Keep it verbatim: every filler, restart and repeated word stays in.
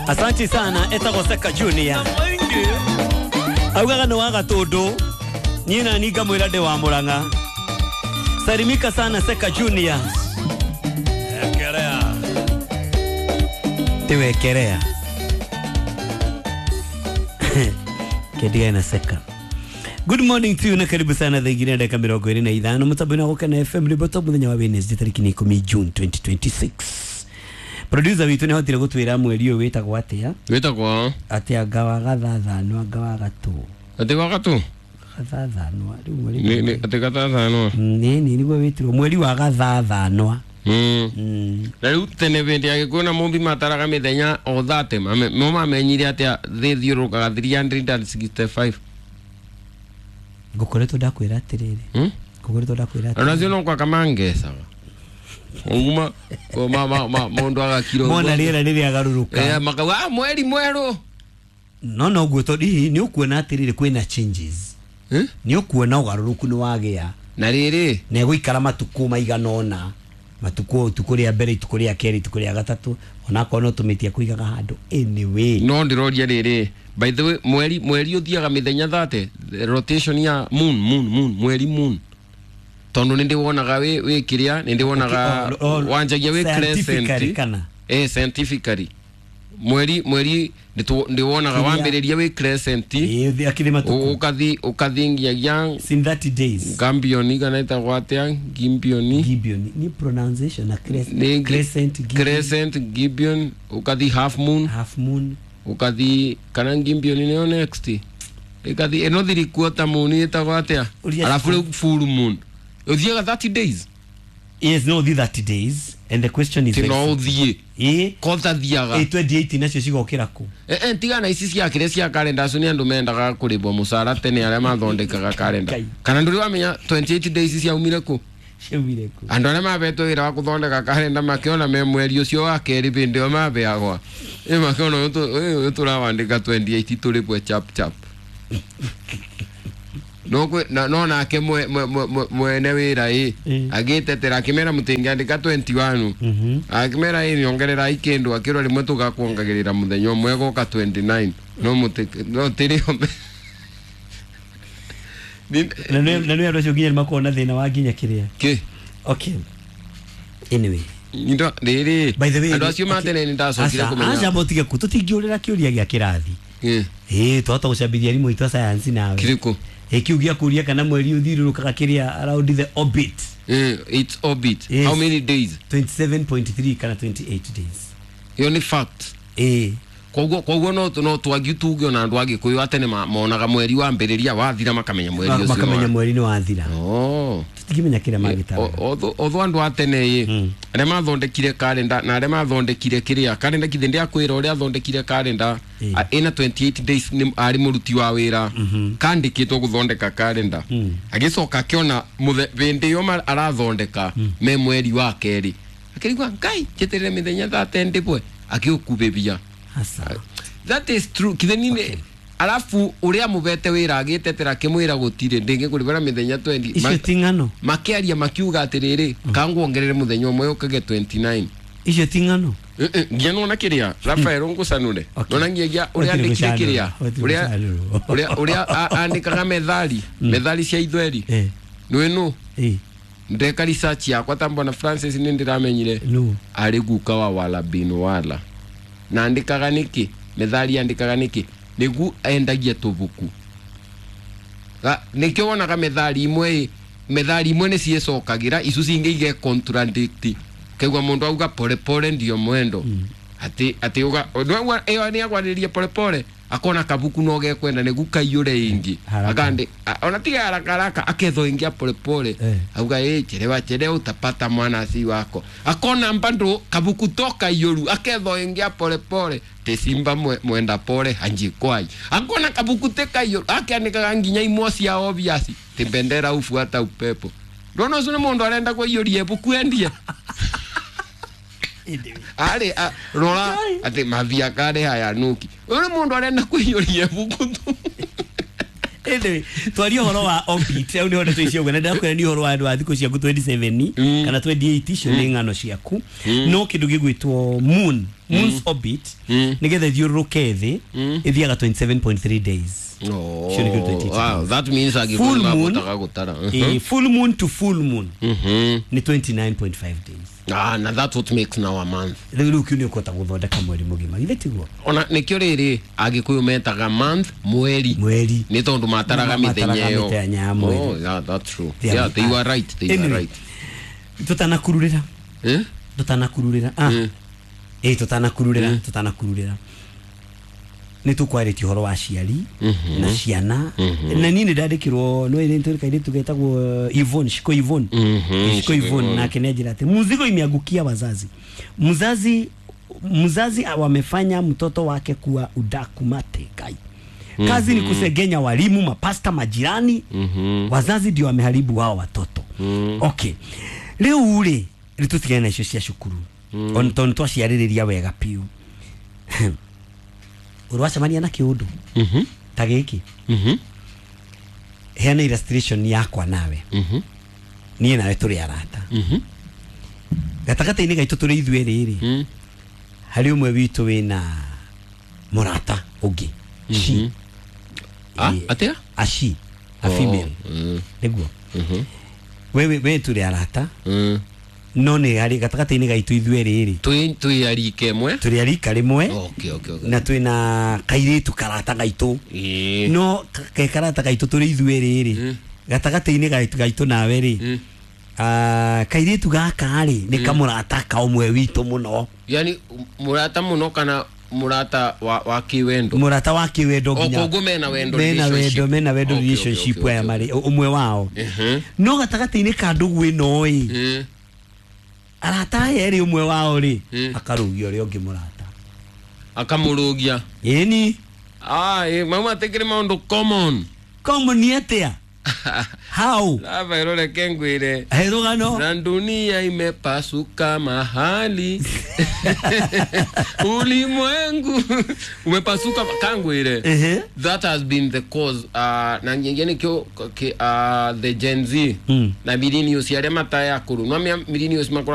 Asante sana etagwo Seka Junior. Augaga nĩ wa Gatũndũ, niĩ na niĩ ngamwĩra ndĩ wa Mũrang'a. Salimika sana Seka Junior. Ekerea. Tiwekerea. Kendigae na Seka. Good morning to you na karibu sana thaa igĩrĩ na ndagĩka mĩrongo ĩrĩ na ithano mũtambo-inĩ wa Gũkena F M rĩmbo top mũthenya wa Wednesday tarĩki nĩ ikũmi June twenty twenty-six. Producer witũ nĩahotire gũtwĩra mweri ũyũ wĩtagwo atĩa? Wĩtagwo atĩa? Anga wa gathathanwa, anga wa gatũ. Atĩ wa gatũ? Gathathanwa rĩu mweri. Nĩ nĩ atĩ gathathanwa. Nĩ nĩ nĩguo wĩtirwo mweri wa gathathanwa. Mm. Mm. Na rĩu tene hĩndĩ ya Gĩkũyũ na Mũmbi mataraga mĩthenya o thate, mo mamenyire atĩa thĩ thiũrũrũkaga three hundred and sixty-five. Ngũkoretwo ndakwĩra atĩrĩrĩ. Hmm? Ngũkoretwo ndakwĩra atĩrĩrĩ. Ona acio no gwaka mangecaga. Uma ma ma ma mũndũ agakira Mona rĩera rĩrĩa garũrũka. Eh makauga ah mweri mwerũ. No no guo tondũ hihi nĩ ũkuona atĩrĩrĩ kwĩna changes. Eh? Nĩ ũkuona ũgarũrũku nĩ wagĩa. Na rĩrĩ na ĩgũikara matukũ maigana ũna. Matukũ itukũ rĩa mbere, itukũ rĩa kerĩ, itukũ rĩa gatatũ, onakorwo no tũmĩtie kũigaga handũ anyway. No ndĩroria rĩrĩ, by the way mweri mweri ũthiaga mĩthenya thate, rotation ya moon moon moon mweri moon. Tondu nĩ ndĩwonaga wĩ wĩ kĩrĩa, nĩ ndĩwonaga wanjagia wĩ crescent. Kana? Eh scientifically. Mweri mweri ndĩwonaga wambĩrĩria wĩ crescent. Eh akiri matukũ. Ũkathi ũkathi nginyagia in thirty days. Gambioni kana ĩtagwo atĩa? Gimbioni. Gibeon ni pronunciation na crescent. Crescent Gibeon. Crescent Gibeon ukathi half moon. Half moon. Ukathi kana Gibeon nĩyo next. Ĩkathi ĩno three quarter moon ĩtagwo atĩa? Alafu rĩu full moon. Ũthiaga thirty days. Yes, no, the thirty days and the question is no thiĩ. Eh, kotha thiaga. Eh twenty-eight nacio cigokĩra kũ? Eh eh tigana ici cia kĩrĩa cia kalenda acio nĩ andũ mendaga kũrĩbwo mũcara tene arĩa mathondekaga kalenda. Kana ndũrĩ wamenya twenty-eight days ciaumire kũ? Ciaumire kũ? Andũ arĩa mabetwo wĩra wa gũthondeka kalenda makĩona me mweri ũcio wa kerĩ hĩndĩ ĩyo mabeagwa. Ĩ makĩona ũyũ tũrawandĩka twenty-eight tũrĩbwe chap chap. No kwe na no nake mwe mwene wĩra ĩ agĩtetera akĩmera mũtingĩandĩka twenty-one. Akĩmera ĩ niongerera ikĩndũ akĩrwo rĩmwe tũgakuongagĩrĩra mũthenya ũmwe goka twenty-nine no mũtĩ no tĩrĩ na nĩ na nĩ andũ acio nginya nĩmakoragwo na thĩna wa nginya kĩrĩa kĩ. Okay, anyway ndo rĩrĩ by the way andũ acio matene nĩ ndacokire kũmenya aca mũtige kũ tũtingĩũrĩra kĩũria gĩa kĩrathi. Ĩ twahota gũcambithia arimũ aitũ a science nawe kĩrĩkũ? Ĩ kiu gĩa kũria kana mweri ũthiũrũrũkaga kĩrĩa around the orbit. Eh, its orbit. Yes. How many days? twenty-seven point three kana twenty-eight days. Iyo nĩ fact. Ĩ koguo koguo no no twangi tuge ona andũ a Gĩkũyũ a tene monaga mweri wambĩrĩria wathira makamenya mweri ũcio makamenya mweri nĩ wathira. Oh tũtingĩmenya kĩrĩa magĩtaraga. Otho andũ a tene ĩ arĩa mathondekire kalenda na arĩa mathondekire kĩrĩa kalenda kithĩ ndĩakwĩra ũrĩa athondekire kalenda ĩna twenty-eight days nĩ arĩ mũruti wa wĩra kandĩkĩtwo gũthondeka kalenda agĩcoka akĩona hĩndĩ ĩyo arathondeka me mweri wa kerĩ akĩrigwa Ngai njeterere mĩthenya thate ndĩbwe akĩũkubĩbia. Asa. That is true. Kithe nini okay. Alafu uria mubete wira agitetera akimwira gutire ndingi kuribara mithenya twenty icio ti ng'ano makiaria makiuga atiriri kanguongerere muthenya umwe ukage twenty-nine icio ti ng'ano nginya nona kiria Rafael ngucanure nona nginya uria andikire kiria uria uria uria andikaga methali methali cia ithweri nwi nu ndeka research yakwa tambona Francis ni ndiramenyire ari guka wa wala bin wala na andikaga niki methali andikaga niki nigu endagia tubuku nikio wonaga methali imwe methali imwe ni ciecokagira icu cingi ige contradict kaigua mundu auga pole pole ndio mwendo mm. ati ati uga iyo ni agwariria pole pole akona kabuku no gekwenda nigu kaiyure ingi akandi ona tiga haraka haraka aketho ingi pole pole eh. Auga eh chelewa chelewa utapata mwana si wako akona mbando kabuku toka iyuru aketho ingi pole pole te simba mwe, mwenda pole hanjikwai akona kabuku teka iyuru akiandikaga nginya imwe cia obvious te bendera ufuata upepo ndono ucio ni mundu arenda kuiyuria ibuku endie ari rora ati mavia kare haya nuki uri mundu arenda kuiyuria ibuku tu anyway twaria horo wa orbit au ni hono tuicio gwe na ndakwira ni horo wa andu a thiku ciaku twenty-seven kana twenty-eight icio ni ng'ano ciaku no kindu gigwitwo moon Moon's orbit nĩgetha ĩthiũrũrũke thĩ ĩthiaga twenty-seven point three days. Oh, Cio nĩkĩo twenty-eight wow, days. that means Full agĩkũyũ moon. mabotaga gũtara. Eh, full moon to full moon Mhm. nĩ twenty-nine point five days. Ah, na that's what makes now a month. Rĩu rĩu kĩu nĩ ũkũhota gũthondeka mweri mũgima, githĩ tiguo? Ona nĩkĩo rĩrĩ agĩkũyũ metaga month mweri. Mweri. Nĩ tondũ mataraga Mataraga mĩthenya ĩyo. mĩthenya ya mweri. Oh, yeah, that's true. They are- Yeah, they were right, they were Anyway, right. Tutanakururĩra. Eh? Tutanakururĩra. Ah. Ĩ tutanakururĩra, tutanakururĩra. Nĩ tũkwarĩtie ũhoro wa aciari na ciana na niĩ nĩ ndandĩkĩrwo no ĩrĩ tũrĩ kairĩtu getagwo Yvonne Shiko Yvonne. Mhm, Shiko Yvonne nake nĩ anjĩra atĩ mzigo imeangukia wazazi, mzazi mzazi wamefanya mtoto wake kuwa udaku mate kai kazi ni kusegenya walimu, mapasta, majirani. Wazazi ndio wameharibu wao watoto. Okay, rĩu rĩ rĩ tũtigane na icio cia cukuru on tondũ twaciarĩrĩria wega piũ. Ũrwacemania na kĩũndũ Mhm. ta gĩkĩ, Mhm. heana illustration yakwa nawe. Mhm. Niĩ nawe tũrĩ arata. Mhm. Gatagatĩ-inĩ gaitũ tũrĩ ithuĩ rĩrĩ, Mm. harĩ ũmwe witũ wĩna mũrata ũngĩ, she. Ah, Ĩ, atĩa? A she, a female. Mm. Nĩguo Mhm. we we we tũrĩ arata, Mm. no nĩ harĩ gatagatĩ-inĩ gaitũ ithuĩ rĩrĩ, Twĩ twĩ arika ĩmwe. tũrĩ arika rĩmwe Okay, okay, okay. na twĩna kairĩtu karata gaitũ. Ĩĩ. No ke karata gaitũ tũrĩ ithuĩ rĩrĩ, gatagatĩ-inĩ gaitũ gaitũ nawe rĩ, Mm. ah, kairĩtu gaka rĩ nĩ kamũrata ka ũmwe witũ mũno. Yani mũrata mũno kana mũrata wa wa kĩwendo? Mũrata wa kĩwendo. O, Nginya koguo mena wendo mena relationship. wendo, mena wendo Okay, okay, relationship okay, aya okay. marĩ ũmwe wao. Mhm. No gatagatĩ-inĩ ka ndũgũ ĩno ĩ, Mm. arata aya erĩ, ũmwe wao rĩ Mm. akarũgia ũrĩa ũngĩ mũrata. Akamũrũgia. Ĩni. Ah, ĩ, mau matikĩrĩ maũndũ common. Common atĩa? How? Lava reke ngwĩre. He rũgano. Na dunia imepasuka mahali, ulimwengu umepasuka kangwire. Ehe. That has been the cause, uh, na nyingĩ nĩkĩo ki- uh, the Gen Z Mm. na millennials arĩa mataya akũrũ no millennials makoragwo